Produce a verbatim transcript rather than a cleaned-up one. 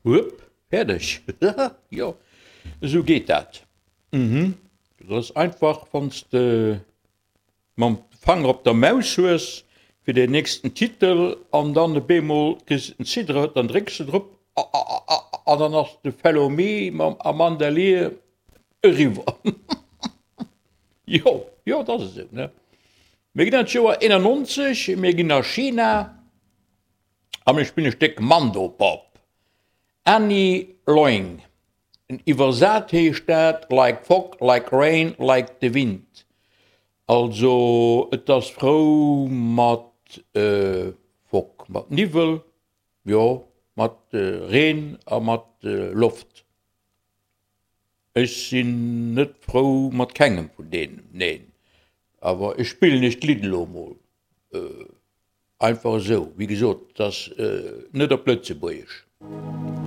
Wupp, fäerdeg. Jo, esou geet dat. Mhm. Dat ass einfach, wann s de mam Fanger op der Maus hues fir den nächsten Titel an dann op eemol kriss de den Cidre, dann drécks de drop an dann ass de Fellow Me mam Amanda Lear eriwwer. Jo, jo, dat ass esou, ne? Mir ginn an d'Joer eenannonzeg, mir ginn a China a mir spillen e Stéck Mandopop. Annie Loing, iwwersat heescht dat Like fog, like rain, like the wind. Also et ass frou mat Fog, mat Niwwel, jo, mat Reen a mat Loft. Ech sinn net frou mat kengem vun deenen, neen. Awer ech spillen iech d'Lidd elo emol einfach esou. Wéi gesot, et ass net op Lëtzebuergesch.